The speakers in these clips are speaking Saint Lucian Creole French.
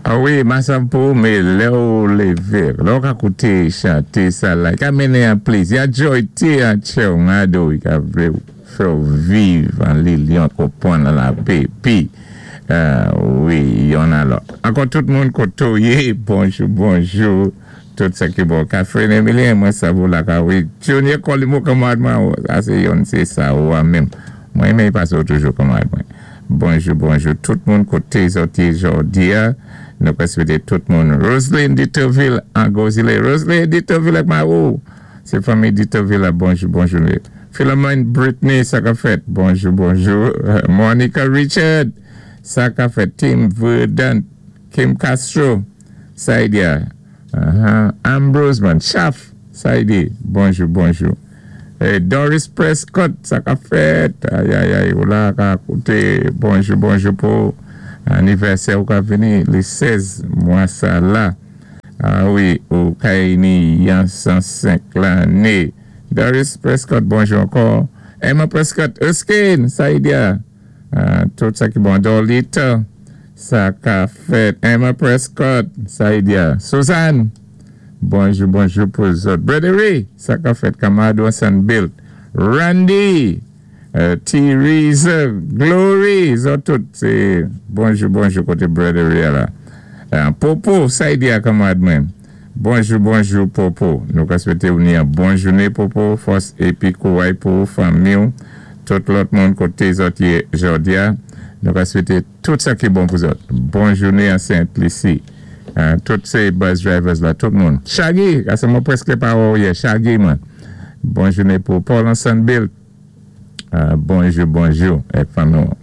A wi, masav pou mé lè ou lévé, lè ou ka kouté chanté sa la, i ka mennen an plézi, an joyté an tchè ou ngado, i ka vlé fè ou viv an linyon, konpwann an lapé, pi, wi, yonn a lòt. Ankò tout moun koté ou yé, bonjou, bonjou, tout sa ki bon. Catherine Emilien, mwen sav ou la ka wi. Junior Colimo kanmarad mwen, sa sé yonn sé sa ou a menm. Mwen renmen pasé ou toujou kanmarad mwen. Bonjou, bonjou tout moun koté zòt yé jòdi a. Nou ka swété tout moun. Roseline Ditoville an Gozile. Roseline Ditoville ak Marou. Sé fanmi Ditoville la. Bonjou, bonjou. Philemon Britney, sa ka fèt. Bonjou, bonjou. Monica Richard, sa ka fèt. Tim Verdant, Kim Castro, Saidia. Ambrose man, Chaf, Saidi. Bonjou, bonjou. Doris Prescott, sa ka fèt. Ayayay, ou la ka kouté. Bonjou, bonjou pou anivèsè ou ka vini lé 16 mwa sa la. A wi, ou kay ni yan 105 lanné. Doris Prescott, bonjou ankò. Emma Prescott, Erskine, Saidia. Tout sa ki bon. Dorlita, sa ka fèt. Emma Prescott, Saidia. Suzanne, bonjou, bonjou pou zòt. Brother sa ka fèt. Kamado Sanbilt. Randy, Theresa, Glory, zòt tout. Sé bonjou, bonjou koté Brother la. Popo, Saidia kanmarad mwen. Bonjou, bonjou, Popo. Nou ka swété ou ni an bon jouné, Popo. Fòs épi kouway pou fanmi ou. Tout lòt moun koté zòt yé jòdi a. Nou ka swété tout sa ki bon pou zòt. Bon jouné an Sent Lisi. Tout sé bus drivers la, tout moun. Shaggy, ase mwen prèské pa wè ou yè. Shaggy mwen. Bon jouné pou Paul an Sanbilt. Bonjou, bonjou. Èk fanmi ou.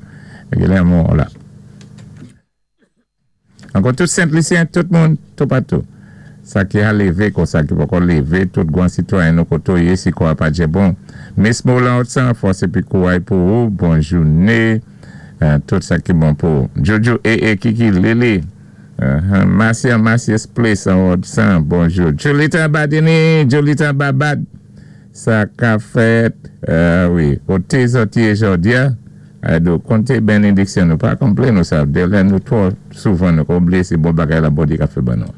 Gilè mou la. Ankò tout Sent Lisyen, tout moun, toupatou. Sa ki a lévé kon sa ki poko lévé, tout gwan sitwayen nou koté ou yé si kò a pa djè bon. Miss Molan Otsan, fòs épi kouway pou ou, bon jouné, tout sa ki bon pou ou. Jojo, ee, Kiki, Lili, Marcia, Marcia's Place an Otsan, bonjou. Julita Badini, Julita Babad, sa ka fèt, wi, koté zòt yé jòdi a? Do konté benediksyon nou pa konplen nou sa de lè nou twò souvan nou ka oubliyé sé bon bagay la Bondye ka fè ban nou.